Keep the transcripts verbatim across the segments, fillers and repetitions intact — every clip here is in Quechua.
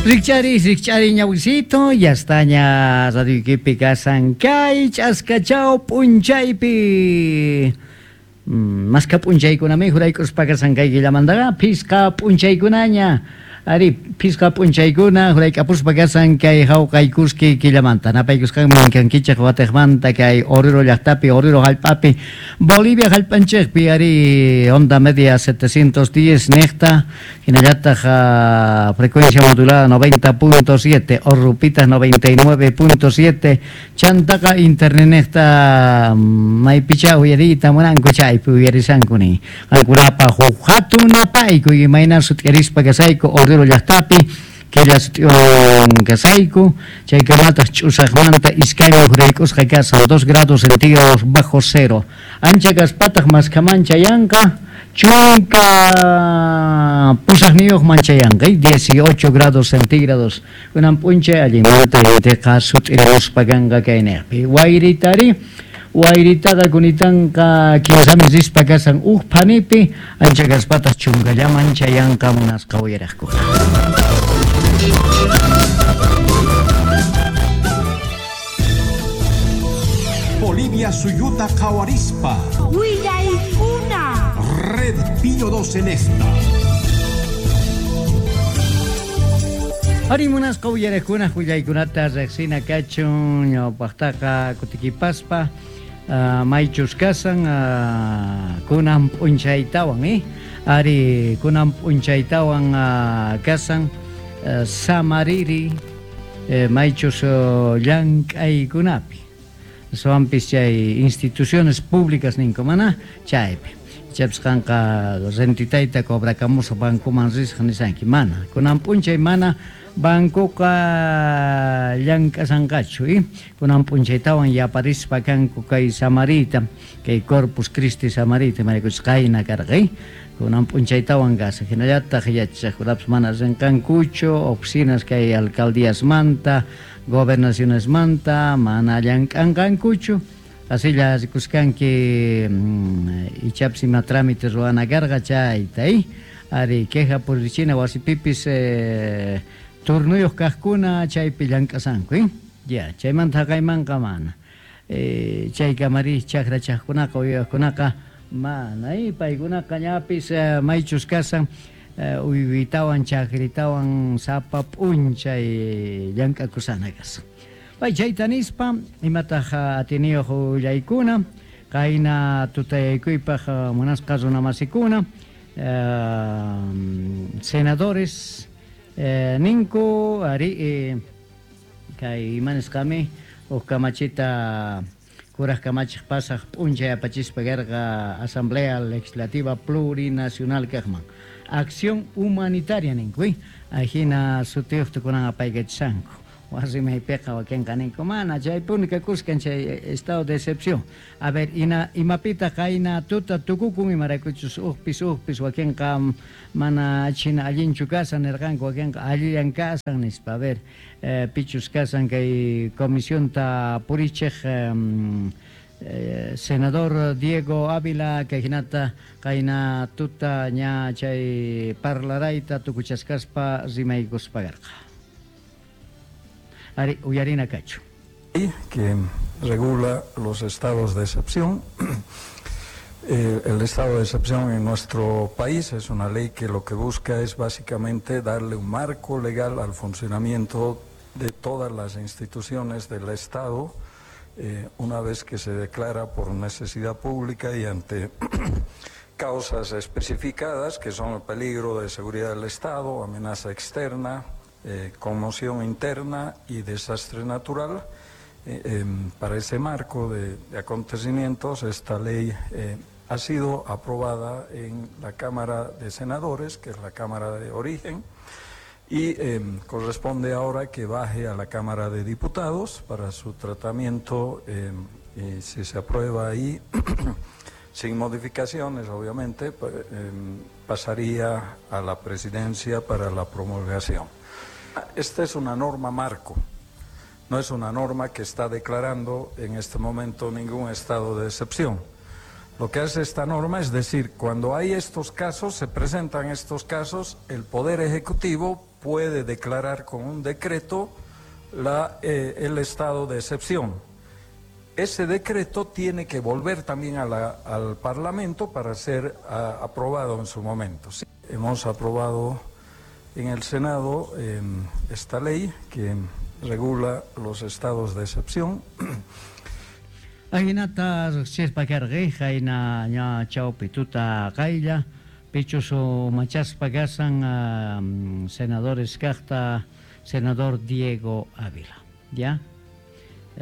Rikchari, rikchari ñawisito, ya está ña Radio Iquipi kasan kay ch'askachao p'unchaypi. Maska p'unchaykunami juraykuspa kasan kay killamantaqa phisqa p'unchaykunaña. Ari, phisqa p'unchaykuna jurayk'apuspa kasan kay hawqaykuski killamanta. Napaykusqanman kankichik watiqmanta kay Oruro llaqtapi, Oruro hallp'api, Bolivia hallp'anchikpi, ari, onda media setecientos diez niqta, hinallataq uh, frecuencia modulada noventa punto siete, Orrupitas noventa y nueve punto siete, chantaqa internet niqta maypicha uyariyta munanku chaypi uyarisankuni. Qankunapa huk hatun napayku imayna sut'irispa kasayku Oruro llaqtapi, killa sut'iwan kasayku, chaykamataq ch'usaqmanta iskayman juraykusqa kasan, dos grados centígrados bajo cero. Ancha kaspataq maskaman chayanqa, chunka pusaqniyuqman chayanqa, dieciocho grados centígrados. Kunan p'unchay allinmanta intiqa sut'iruspa kanqa kayniqpi. Wayritari, wayritaqa kunitanqa kinsamis rispa kasan uj phanipi, ancha kaspataq chunkallaman chayanqa munasqa uyaraqkuna. Bolivia suyuta qhawarispa. Willaykuna. Red Pío doce en esta. Ari munasqa uyaraqkuna willaykunata riqsina kachun ñawpaqtaqa kutikipaspa. Uh, maychus kasan uh, kunan p'unchaytawan eh? Ari kunan p'unchaytawan uh, kasan uh, samariri eh, maychus uh, llank'aykunapi soampis chay instituciones públicas ninku mana chaypi chaypis qanqa rentitayta cobrakamusaq bancoman risaq nisanki mana kunan p'unchay mana bancoqa llank'asanqachu eh? Kunan p'unchaytawan yaparispa kanku kay samarita kay Corpus Christi samarita marikuchus qayna karqa eh? Kunan p'unchaytawan kasa hinallataq yachaqkunapis mana rinqankuchu oficinas kay alcaldíasmanta gobernacionesmanta mana llank'anqankuchu asilla rikuskanki mm, ichapis ima trámite ruwana karqa chayta eh? Ari queja purichina wasipipis eh, turnuyuq kaqkuna chaypi llank'asanku eh? Ya, chaymanta haqaymanqa mana. Eh, chaykamari chakrachaqkunaqa uywaqkunaqa mana eh? Paykunaqa ñapis eh, maychus kasan eh, uywitawan chakritawan sapa p'unchay llank'akusana kasan. Pay chayta nispa imataq atiniyuq willaykuna qayna tutayaykuypaq munasqa runamasikuna eh, senadores Eh, ninku ari eh, kay imanisqami huk kamachita kuraq kamachiq pasaq p'unchay apachispa karqa Asamblea Legislativa Plurinacional kaqman acción humanitaria ninku eh? Ajina sutiyuqta kunan apaykachishanku wasimaypiqa wakinqa ninku mana chaypuni kakuskan chay estado de excepción. A ver, ina imapita qayna tuta tukukun imaraykuchus uqpis uqpis wakinqa mana china allinchu kasan nirqanku wakinqa allillan kasan nispa. A ver, eh, pichus kasan kay comisionta purichiq eh, eh, senador Diego Ávila kay hinata qayna tuta ña chay parlarayta tukuchasqaspa rimaykuspa karqa. Ari, uyarina kachu. Que regula los estados de excepción. Eh, el estado de excepción en nuestro país es una ley que lo que busca es básicamente darle un marco legal al funcionamiento de todas las instituciones del Estado, eh, una vez que se declara por necesidad pública y ante causas especificadas, que son el peligro de seguridad del Estado, amenaza externa, Eh, conmoción interna y desastre natural. Eh, eh, para ese marco de, de acontecimientos, esta ley eh, ha sido aprobada en la Cámara de Senadores, que es la Cámara de origen, y eh, corresponde ahora que baje a la Cámara de Diputados para su tratamiento, eh, y si se aprueba ahí, sin modificaciones, obviamente, eh, pasaría a la presidencia para la promulgación. Esta es una norma marco, no es una norma que está declarando en este momento ningún estado de excepción. Lo que hace esta norma es decir, cuando hay estos casos, se presentan estos casos, el Poder Ejecutivo puede declarar con un decreto la, eh, el estado de excepción. Ese decreto tiene que volver también a la, al Parlamento para ser a, aprobado en su momento. Sí, hemos aprobado en el Senado eh, esta ley que regula los estados de excepción. Ajinata riqsispa karqa qayna ña chawpi tuta qaylla pichus machaspa kasan uh, senadores kaqta senador Diego Ávila, ya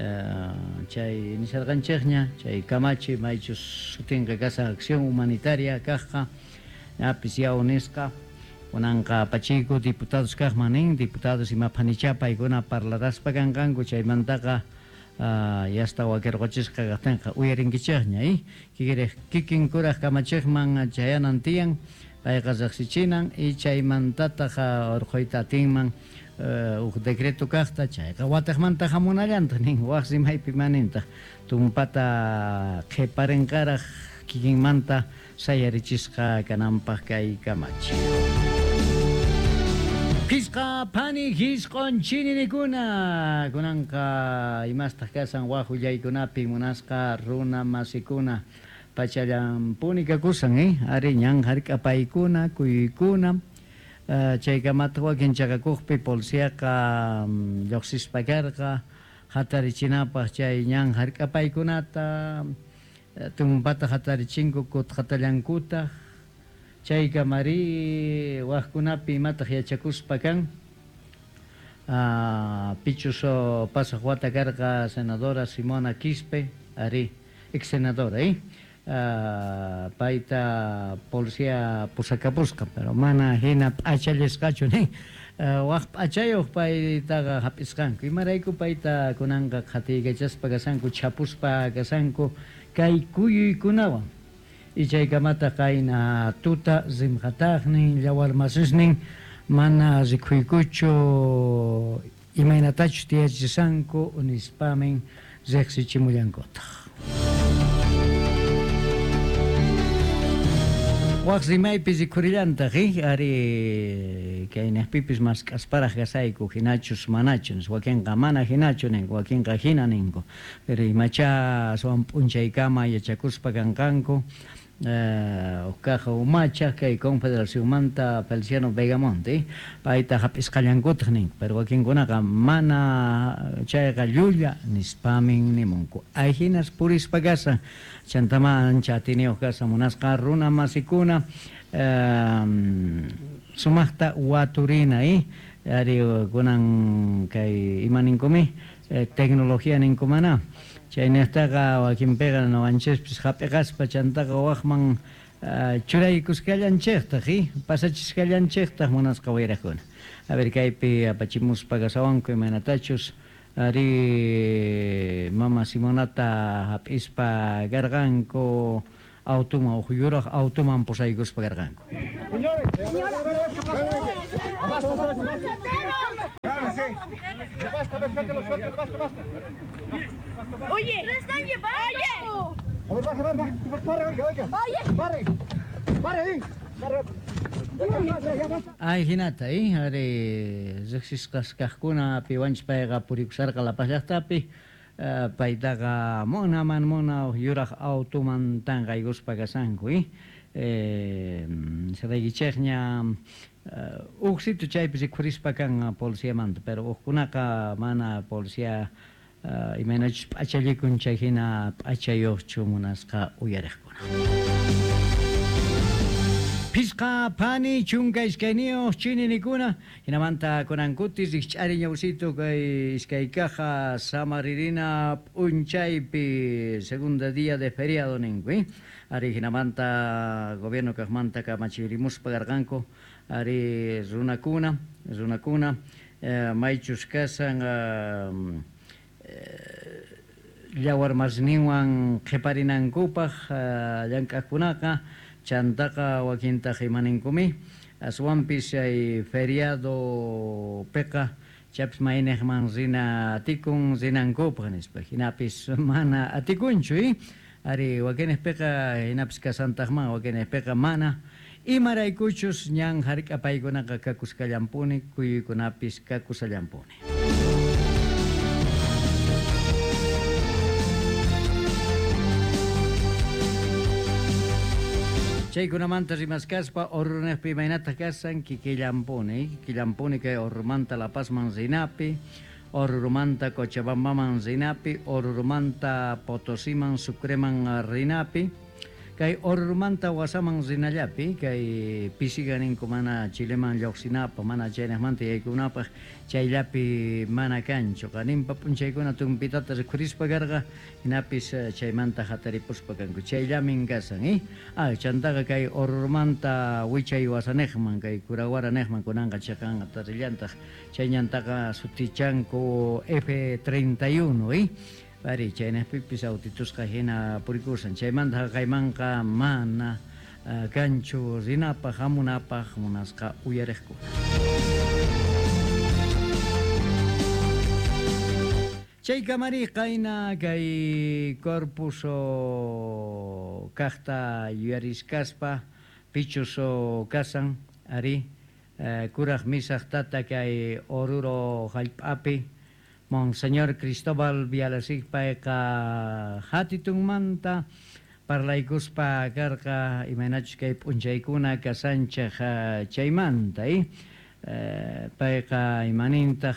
uh, chay nisarqanchikña chay kamachi maychus sutinqa kasan acción humanitaria kaqqa ñapis yaw nisqa kunanqa pachiyku diputados kaqman nin diputados imapanichá paykuna parlaraspa kanqanku chaymantaqa Uh, yasta wakirquchisqa kaqtinqa uyarinkichikña eh kikiriq kikin kuraq kamachiqman chayanan tiyan payqa riqsichinan y chaymantataq urquyta atinman uh, huk decreto kaqta chayqa wataqmanta hamunallantaq nin waq rimaypi manintaq tumpata qhiparinqaraq kikinmanta sayarichisqa kananpaq kay kamachi. Pisqa pani hisqon chininikuna kunanqa imastaq kasan waq willaykunapi munasqa runa masikuna pachallampuni kakusan eh ari ñan hark'apaykuna kuykuna uh, chaykamataq wakin chaqakuqpi policiaqa um, lluqsispa karqa hatarichinapaq chay ñan hark'apaykunata uh, tumpata hatarichinku kutqatallankutaq chaykamari waqkunapi imataq yachakuspa kan uh, pichus pasaq wata karqa senadora Simona Quispe ari ex senadora eh uh, payta policía pusakapusqa pero mana hina p'achallisqachu nin uh, waq p'achayuq paytaqa hap'isqanku imarayku payta kunanqa qhatiykachaspa kasanku chapuspa kasanku kay kuyuykunawan y chaykamata qayna tuta rimqataqnin llawarmasisnin mana rikhuykuchu imaynatachus tiyachisqanku nispamin riqsichimullankutaq. Waq rimaypi rikhurillantaq eh ari kaynaqpipis mask'asparaq kasayku hinachus manachus wakinqa mana hinachu ninku wakinqa hina ninku pero imacha aswan p'unchaykama yachakuspa kanqanku Uh, uqkaqa umacha kay Confederacionmanta Feliciano Vegamonte payta hap'isqallankutaq ninku pero wakinkunaqa mana chayqa llulla nispamin nimunku ayhinas purispa kasan chantama ancha atiniyuq kasan munasqa runa masikuna uh, sumaqta waturina eh ari kunan kay ima ninkumi eh, tecnología ninkumana chaynaqtaqa wakinpiqa nuqanchispis hap'iqaspa chantaqa waqman uh, churaykusqallanchiktaq eh pasachisqallanchiktaq munasqa wayraqkuna a ver kaypi apachimuspa kasawanku imaynatachus ari mama Simonata hap'ispa karqanku automan huk yuraq automan pusaykuspa karqanku. Oye, ¡lo están llevando! A ver, baje, baje, pare, oiga, oiga. Oye. Pare, pare ahí. Ay, hinata, eh, ari riqsisqas kaqkuna piwanchis payqa purikusarqa La Paz llaqtapi uh, paytaqa munaman muna yuraq automan tanqaykuspa kasanku, eh. Eh, saraykichikña uh, huk sitio chaypi rikhurispa kan policiamanta, pero hukkunaqa mana policía uh, imaynachus p'achallikun chay hina p'achayuqchu munasqa uyariqkuna. Pisqa pani chunka iskayniyuq chininikuna hinamanta kunankuti rikch'ari ñawsito kay iskay caja samaririna p'unchaypi segunda día de feriado ninku eh? Ari hinamanta gobierno kaqmanta kamachirimuspa karqanku ari runakuna runakuna eh, maychus kasan uh, eh, llawarmasninwan qhiparinankupaq uh, llank'aqkunaqa chantaqa wakintaq imaninkumi aswanpis chay feriado piqa chaypis mayniqman rina atikun rinankupaq nispa hinapis mana atikunchu eh? Ari wakinpiqa hinapis kasantaqman wakinpiqa mana Imaraykuchus ñan hark'apaykunaqa kakusqallampuni, kuyuykunapis kakusallampuni. Chaykunamanta rimaskaspa Orurunejpi imaynataq kasan kikillampuni, kikillampuni kay Orurumanta La Pazman rinapi, Orurumanta Cochabambaman rinapi, Orurumanta Potosiman Sucreman rinapi, kay Orurumanta Wasaman rinallapi, kay pisiga ninku mana Chileman lluqsinapaq, mana chaynaqmanta yaykunapaq, chayllapi mana kanchu. Qaninpa p'unchaykuna tumpitata rikhurispa karqa, hinapis chaymanta hataripuspa kanku. Chayllamin kasan, eh? Ah, chantaqa kay Orurumanta wichay Wasanejman, kay Curahuara nejman kunanqa chaqanqa tarillantaq, chay ñantaqa sutichanku F treinta y uno, eh? Pari, chaynaqpipis autitusqa hina purikusan. Chaymanta haqaymanqa mana uh, kanchu rinapaq, hamunapaq munasqa uyariqkuna. Chay kamari qayna kay Corpus kaqta yuyariskaspa pichus kasan ari uh, kuraq misaq tata kay Oruro hallp'api Monseñor Cristóbal Bialasik payqa hatitunmanta parlaykuspa karqa imaynachus kay p'unchaykuna kasanchaq chaymanta, eh? Payqa imanintaq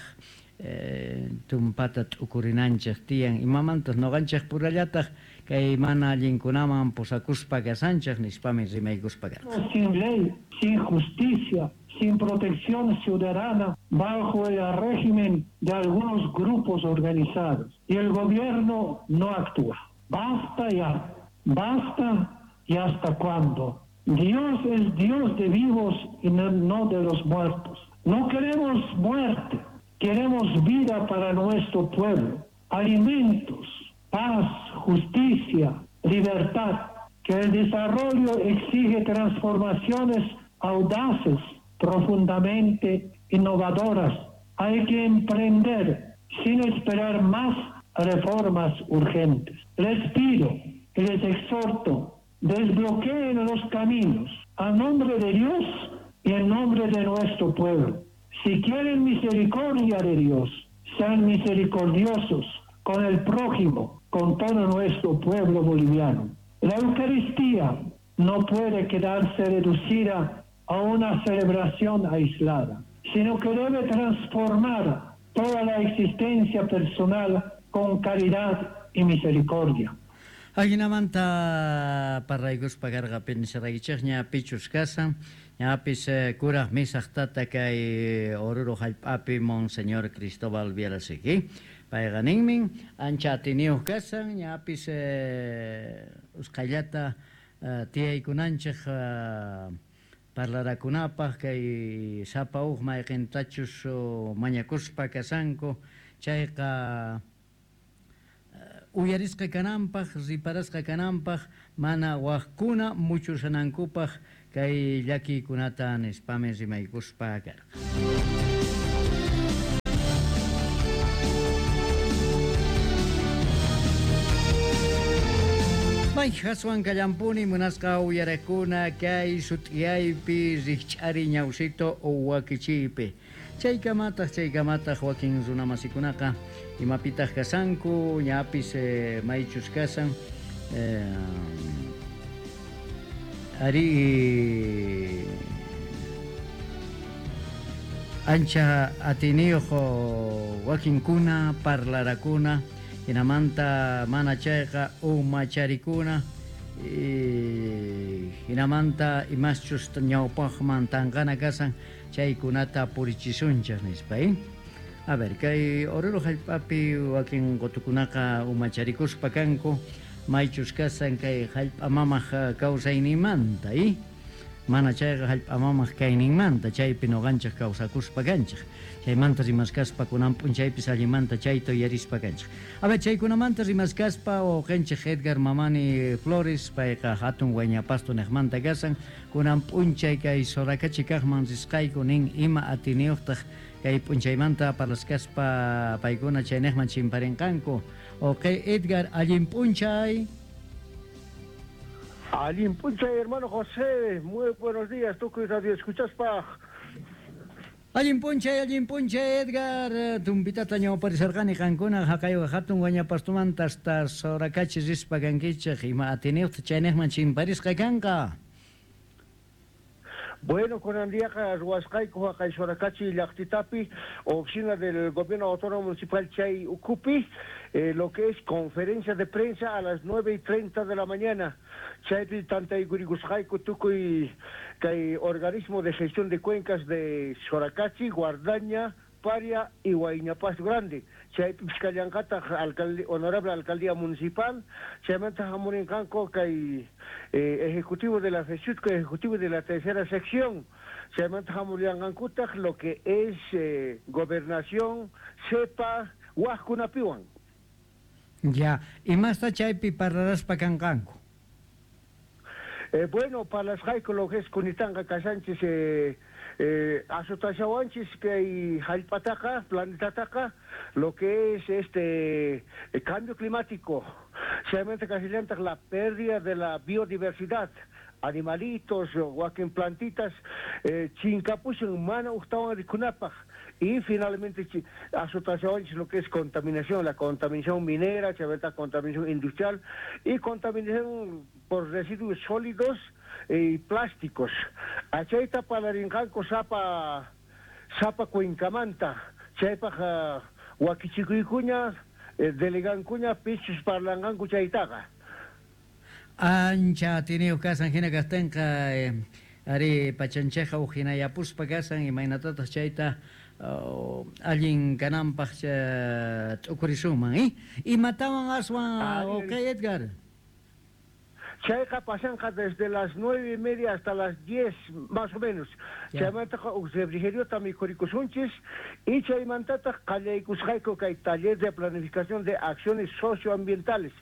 eh, tumpata t'ukurinanchik tiyan imamantaq noqanchik purallataq kay mana allinkunaman pusakuspa kasanchik nispami rimaykuspa karqa. Sin ley, sin justicia, sin protección ciudadana, bajo el régimen de algunos grupos organizados. Y el gobierno no actúa. Basta ya, basta y hasta cuándo. Dios es Dios de vivos y no, no de los muertos. No queremos muerte, queremos vida para nuestro pueblo, alimentos, paz, justicia, libertad. Que el desarrollo exige transformaciones audaces, profundamente innovadoras. Hay que emprender sin esperar más reformas urgentes. Les pido y les exhorto, desbloqueen los caminos a nombre de Dios y en nombre de nuestro pueblo. Si quieren misericordia de Dios, sean misericordiosos con el prójimo, con todo nuestro pueblo boliviano. La Eucaristía no puede quedarse reducida a una celebración aislada, sino que debe transformar toda la existencia personal con caridad y misericordia. Ajinamanta parlaykuspa karqa pinsaraykichikña pichus kasan, ñapis kuraq misaq tata kay Oruro hallp'api Monseñor Cristóbal Bialasik. Payqa ninmin ancha atiniyuq kasan, ñapis usqhayllata tiyaykunanchik parlarakunapaq kay sapa uq mayqintachus mañakuspa kasanku, chayqa uyarisqa kananpaq, riparasqa kananpaq, mana waqkuna muchusanankupaq kay llakiykunata nispami rimaykuspa karqa. May haswan kallampuni munasqa uyarakuna kay sut'iyaypi rikch'ari ñawsito wakichiypi. Chaykamataq chaykamataq wakin runamasikunaqa imapitaq kasanku, ñapis eh, maychus kasan eh, ari ancha atiniyuq wakinkuna parlarakuna hinamanta mana chayqa umacharikuna hinamanta imaschus ñawpaqman tanqana kasan chaykunata purichisunchik nispa, eh? A ver, kay Oruro hallp'api wakin qutukunaqa umacharikuspa kanku maychus kasan kay hallp'a mamaq kawsayninmanta, eh? Mana chayqa hallp'a mamaq kayninmanta chaypi nuqanchik kawsakuspa kanchik. Chaymanta rimaskaspa kunan p'unchaypis allimanta chayta uyarispa kanchik. A ver, chaykunamanta rimaskaspa uqanchik Edgar Mamani Flores payqa hatun Huayñapasto niqmanta kasan kunan p'unchay kay Sorakachi kaqman risqayku nin ima atiniyuqtaq kay p'unchaymanta parlaskaspa paykuna chayniqman chimparinqanku. Uqay Edgar, allin p'unchay. Allin p'unchay, hermano José, muy buenos días, tukuy radio escuchaspaj. Allin p'unchay, allin p'unchay, Edgar. Tumpitata ñawparisarqani qankuna haqaywa hatun Huañapastumanta hasta Soracachi rispa kankichik ima atiniyuqta chayniqman chimparisqa kanqa. Bueno, kunan diaqa ruwasqayku haqay Soracachi llaqtitapi, oficina del Gobierno Autónomo Municipal chay ukhupi, eh, lo que es conferencia de prensa a las nueve y treinta de la mañana. Chaypi tantaykuriykusqayku tukuy kay organismo de gestión de cuencas de Soracachi, Guardaña, Paria y Huayñapasto Grande. Chaypi kallanqataq alcalde, honorable alcaldía municipal, chaymanta hamurinqanku kay eh, ejecutivo de la FESUTCO, ejecutivo de la tercera sección, chaymanta hamurinqankutaq lo que es eh, gobernación, CEPA, waqkunapiwan. Ya, imasta chaypi parlaraspa kanqanku? Eh, bueno, parlasqayku lo que es kunitanqa kashanchis eh, eh, azotashawanchis kay hallp'ataqa, planetataqa, lo que es este el cambio climático, chaymanta kasillantaq la pérdida de la biodiversidad, animalitos, wakin plantitas, eh, chinkapushan mana uqtawan rikunapaq, y finalmente azotashawanchis lo que es contaminación, la contaminación minera, chaymanta contaminación industrial y contaminación por residuos sólidos y plásticos. Achayta parlarinqanku sapa sapa cuencamanta, chaypaq uh, wakichikuykuña, eh, delegankuña pichus parlanqanku chaytaqa. Ancha atiniyuq kasan hina kaqtinqa eh, ari pachanchayqa huk hinayapuspa kasan imaynatataq chayta uh, allin kananpaq t'ukurisunman, eh? Imatawan aswan, ok, Edgar? Chayqa pasanqa desde las nueve y media hasta las diez, más o menos. Chaymantaqa huk refrigeriota mikhurikusunchis y chaymantataq qallaykusqayku kay taller de planificación de acciones socioambientales.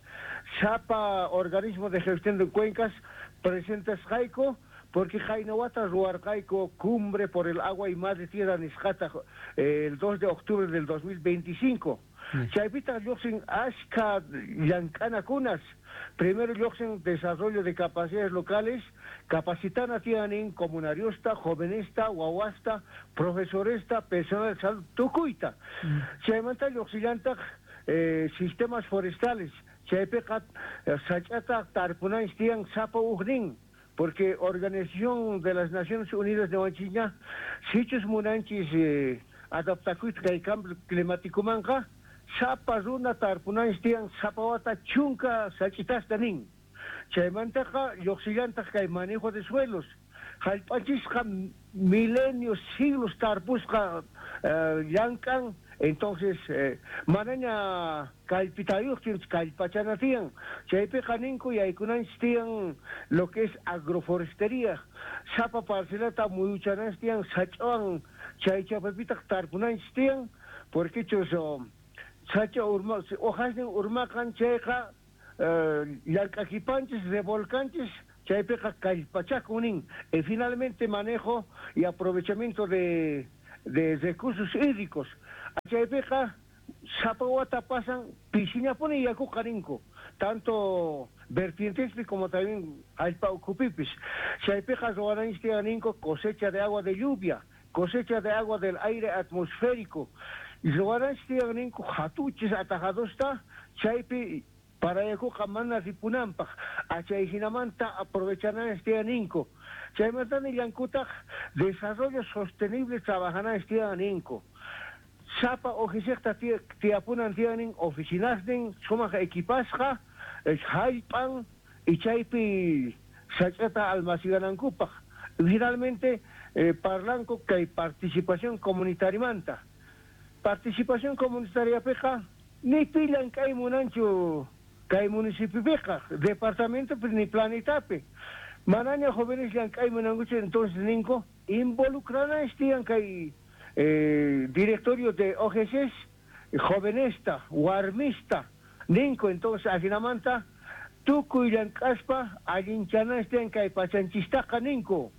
Sapa organismo de gestión de cuencas presentasqayku porque qaynawata ruwarqayku cumbre por el agua y madre tierra nisqata el dos de octubre del dos mil veinticinco. Chaypitaq lluqsin ashka llank'anakunas. Primero lluqsin desarrollo de capacidades locales, capacitana tienen comunariosta, jovenesta, wawasta, profesoresta, personal de salud, tukuyta. Mm. Chaymanta lluqsillantaq eh, sistemas forestales, chaypiqa sach'ata tarpunanchis tiyan sapa uqnin, porque Organización de las Naciones Unidas de Wanchiña, sichus munanchis eh, adaptakuyta kay cambio climático manqa, sapa runa tarpunanchis tiyan sapa wata chunka sach'itasta nin. Chaymantaqa lluqsillantaq kay manejo de suelos. Hallp'anchisqa milenios, siglos tarpusqa eh, llank'an, entonces eh, manaña kallpitayuqtin kallpachana tiyan. Chaypiqa ninku yaykunanchis tiyan lo que es agroforestería. Sapa parcelata muyuchananchis tiyan sach'awan chay chapapitaq tarpunanchis tiyan, porque chus oh, sacha urma, hojasnin urmaqan chayqa llank'akipanchis, revolcanchis, chaypiqa kallpachakun nin. Y finalmente manejo y aprovechamiento de, de recursos hídricos. Chaypiqa sapa wata pasan pishinapuni yakuqa ninku, tanto vertientespi como también allpa ukhupipis. Chaypiqa ruwananchis tiyan ninku cosecha de agua de lluvia, cosecha de agua del aire atmosférico. Ruwananchis tiyan ninku hatuchis atajadosta, chaypi para yakuqa mana ripunanpaq, achay hinamanta aprovechananchis tiyan ninku. Chaymanta nillankutaq desarrollo sostenible trabajananchis tiyan ninku. Sapa oficialta tiyapunan tiyanin oficinasnin sumaq equipasqa, hallp'an y chaypi sach'ata almaciganankupaq. Finalmente eh, parlanku kay participación comunitariamanta. Participación comunitariapiqa ni pi llank'ay munanchu kay municipiopiqa, departamento ni planetapi. Manaña jóvenes llank'ay munankuchu, entonces ninku involucrananchis tiyan kay eh, directorio de O G Cs, jovenesta, warmista, ninku, entonces ajinamanta tukuy llank'aspa allinchananchis tiyan kay pachanchistaqa ninku.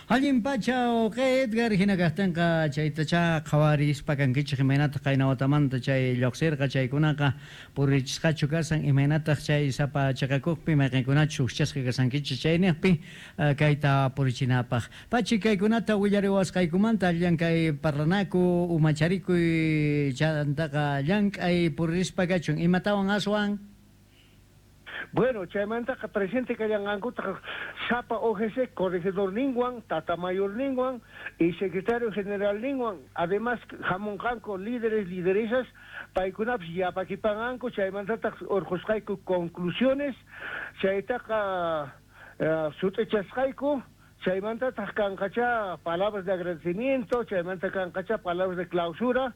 Allin pacha uqi Edgar hina kaqtinqa chaytacha qhawarispa kankichik imaynataq qayna watamanta chay lluqsirqa chaykunaqa purichisqachu kasan imaynataq chay sapa chaqakuqpi mayqinkunachus hukchasqa kasankichik chayniqpi kayta purichinapaq. Pachi kaykunata willariwasqaykumanta llank'ay parlanaku umacharikuy chantaqa llank'ay puririspa kachun imatawan aswan. Bueno, chaymantaqa presente kallanqankutaq sapa O G C, corregidor ninwan, tata mayor ninwan y secretario general ninwan. Además, hamunqanku líderes, lideresas, paykunapis yapakipanqanku, chaymantataq urqusqayku conclusiones, chaytaqa uh, sut'ichasqayku, chaymantataq kanqacha palabras de agradecimiento, chaymanta kanqacha palabras de clausura,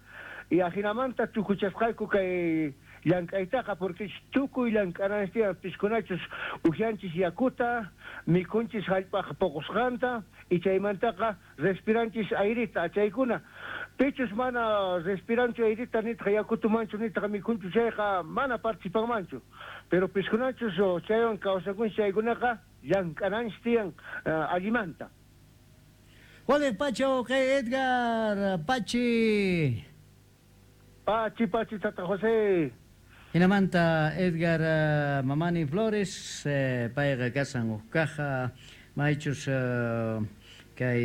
y ajinamanta tukuchasqayku kay llank'aytaqa porque tukuy llank'ananchis tiyan piskunachus uhianchis yakuta, mikhunchis hallp'aq puqusqanta y chaymantaqa respiranchis airita chaykuna. Pichus mana respiranchu airita nitaq yakutumanchu nitaq mikhunchu chayqa mana participanmanchu. Pero piskunachus chaywan kawsakunchis chaykunaqa llank'ananchis tiyan uh, allimanta. Juan Pacho, Edgar, Pachi. Pachi, Pachi, Tata José. Hinamanta Edgar uh, Mamani Flores, eh, payqa kasan huk caja, maychus uh, kay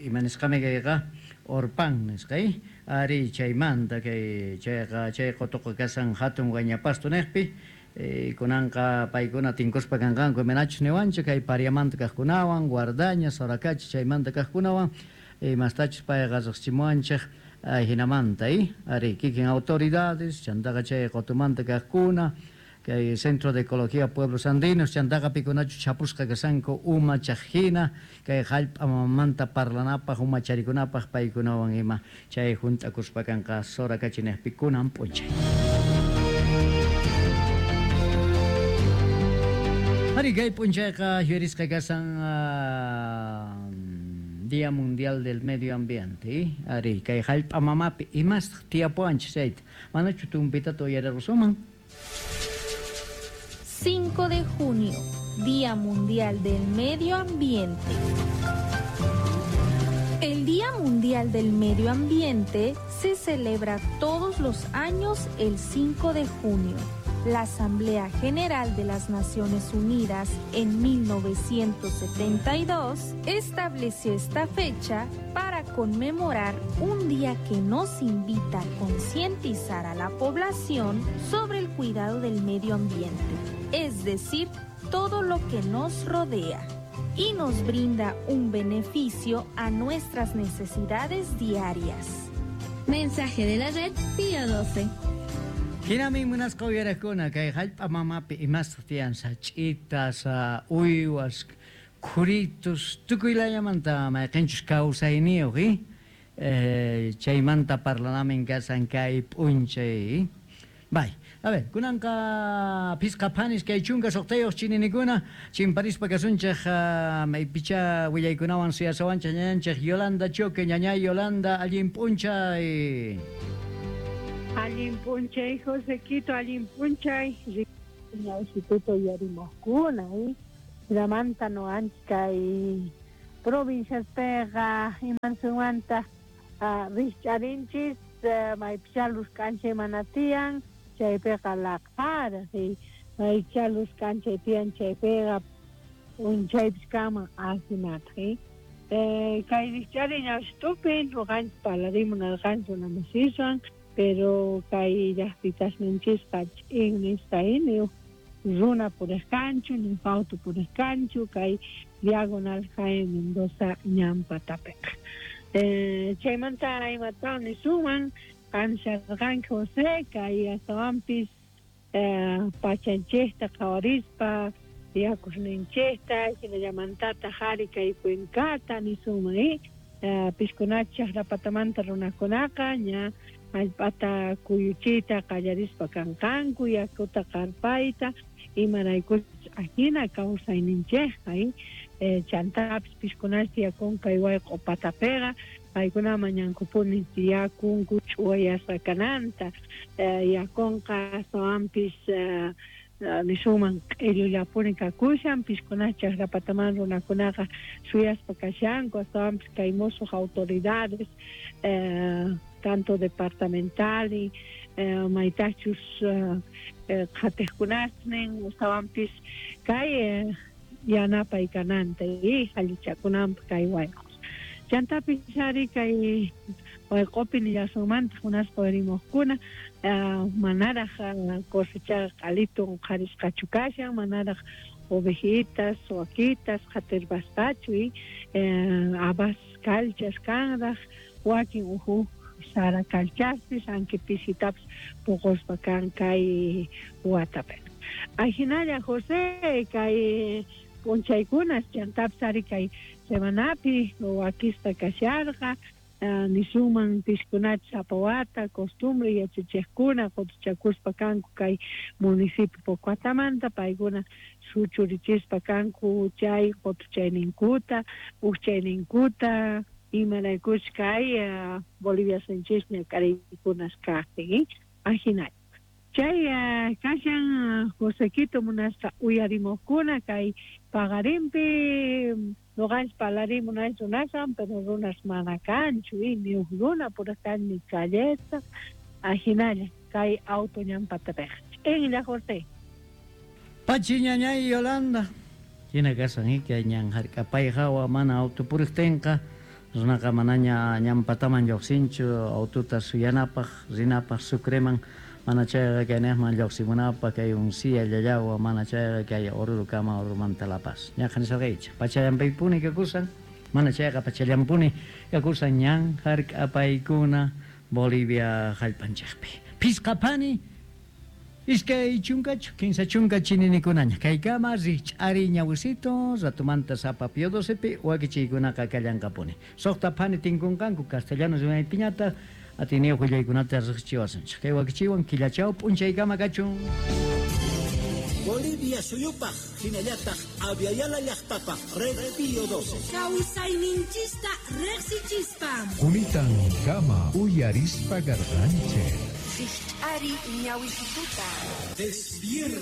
imanisqami kayqa Orpan nisqay, ari chaymanta kay chayqa chay qutuqa kasan hatun Guañapasto niqpi, eh, kunanqa paykuna tinkuspa kanqanku imanachus niwanchik kay Pariamanta kaqkunawan, Guardaña, Soracachi chaymanta kaqkunawan, imastachus payqa riqsimuwanchik hinamanta, eh? Ari kikin autoridades, chantaqa chay qutumanta kaqkuna, kay Centro de Ecología Pueblos Andinos, chantaqa pikunachu chapusqa kasanku uma chaqhina, kay hallp'a mamamanta parlanapaq, uma charikunapaq paykunawan ima chay hunt'akuspa kanqa Soracachi niqpi kunan p'unchay. Ari kay p'unchayqa yuyarisqa kasan uh, Día Mundial del Medio Ambiente, ari kay hallp'a mamapi imastaq tiyapuwanchis chayta manachu tumpitata uyarirusunman. cinco de junio, Día Mundial del Medio Ambiente. El Día Mundial del Medio Ambiente se celebra todos los años el cinco de junio. La Asamblea General de las Naciones Unidas en mil novecientos setenta y dos estableció esta fecha para conmemorar un día que nos invita a concientizar a la población sobre el cuidado del medio ambiente, es decir, todo lo que nos rodea, y nos brinda un beneficio a nuestras necesidades diarias. Mensaje de la red Pío doce. Hinami munasqa uyarakuna kay hallp'a mamapi imastaq tiyan sach'itas, uywas, khuritus, tukuy layamanta mayqinchus kawsayniyuq, eh? Eh, chaymanta parlanamin kasan kay p'unchay. Bay, a ver, kunanqa phisqa phanis kay chunka suqtayuq chininikuna chimparispa kasunchik uh, maypicha willaykunawan suyasawanchik ñañanchik Yolanda Choque, ñañay Yolanda, allin p'unchay. Allin p'unchay, Josequito, allin p'unchay. Instituto Yarimoscuna, eh? Lamanta no kay provinciaspeqa imansunmanta uh, rikch'arinchis uh, maypicha luz k'anchay mana tiyan chaypiqa laqhara, sí, maypicha luz k'anchay tiyan chaypiqa p'unchaypis kanman ahinataq, eh? Eh, kay rikch'ari ñawshitupi ñuqanchik parlarimunarqanchik unamasiswan, pero kay llaqtitasninchisqa ch'in nisqa ni runa puriqkanchu ni auto puriqkanchu kay Diagonal Jaime Mendoza ñanpatapiqa. Eh, chaymanta imatawan nisuman qansharqanki José kay astawanpis eh, pachanchikta qhawarispa yakusninchikta hinallamantataq ari kay cuencata nisunman, eh? Uh, piskunacha chaqrapatamanta runakunaqa ña hallp'ata kuyuchiyta qallarispa kanqanku yakuta qarpayta imaraykuchus ahina kawsayninchikqa, eh? Eh, chantapis piskunacha tiyakun kay wayq'u patapiqa paykuna mañankupuni tiyakunku ch'uwayasqa kananta, eh, yakunqa astawanpis eh, Nisuman q'illullapuni kakushan piskunach chaqrapataman runakunaqa suyaspa kashanku astawanpis kay musuq autoridades eh, tanto departamental y eh, maytachus eh, qhatiqkunasnin astawanpis kay eh, yanapay kananta y allichakunanpaq kay wayq'us chantapis ari kay wayq'upi nillasunmantaq munaspa warimuqkuna uh, manaraq uh, cosechaqa q'alitun qharisqachu kashan manaraq ovejitas wakitas qhatirpasqachu y eh, habas kalchas kanraq wakin uhu sara kalchaspis anki pisitapis puquspa kan kay watapi ajinalla José kay p'unchaykunas chantapis ari kay semanapi wakisqa kasharqa Uh, nisuman piskunach sapa wata costumbre yachachiqkuna qutuchakuspa kanku kay municipio Pocoatamanta paykuna suchurichispa kanku chay qutuchayninkuta uqchayninkuta imaraykuch kay uh, Bolivia sinchisña kariykunas kaqtin ajinalla chay uh, kashan uh, Josequito munasqa uyarimuqkuna kay paqarinpi noqanchis parlarimunay runasan pero runas mana kanchu y ni uj runa pura kan ni calleta ajinalla kay auto ñanpatapiqa ch'inlla José Pachi ñañay Yolanda hina kasan kay ñan hark'apay hawa mana auto puriqtinqa runaqa manaña ñanpataman lluqsinchu aututa suyanapaq rinapaq Sucreman mana chayqa kaynaqman lluqsimunapaq kay Uncía Llallagua mana chayqa kay Orurukama Orurumanta La Paz ñaqa nisarqaychik pachallanpaypuni kakusan mana chayqa pachallanpuni kakusan ñan hark'apaykuna Bolivia hallp'anchikpi phisqaphani iskay chunkachu kinsa chunka chininikunaña kaykama rikch'ari ñawisito ratumanta sapa Pío docepi wakichiykunaqa kallanqapuni suqta phani tinkunqanku castellano rimaypiñataq atiniyuq willaykunata riqsichiwasunchik kay wakichiwan killachaw p'unchaykama kachun Bolivia suyupaq hinallataq Aviala llaqtapaq Red Pío doce kawsayninchista riqsichispa Kunitan kama uyarispa garqanchik rikch'ari ñawisituta Despierta.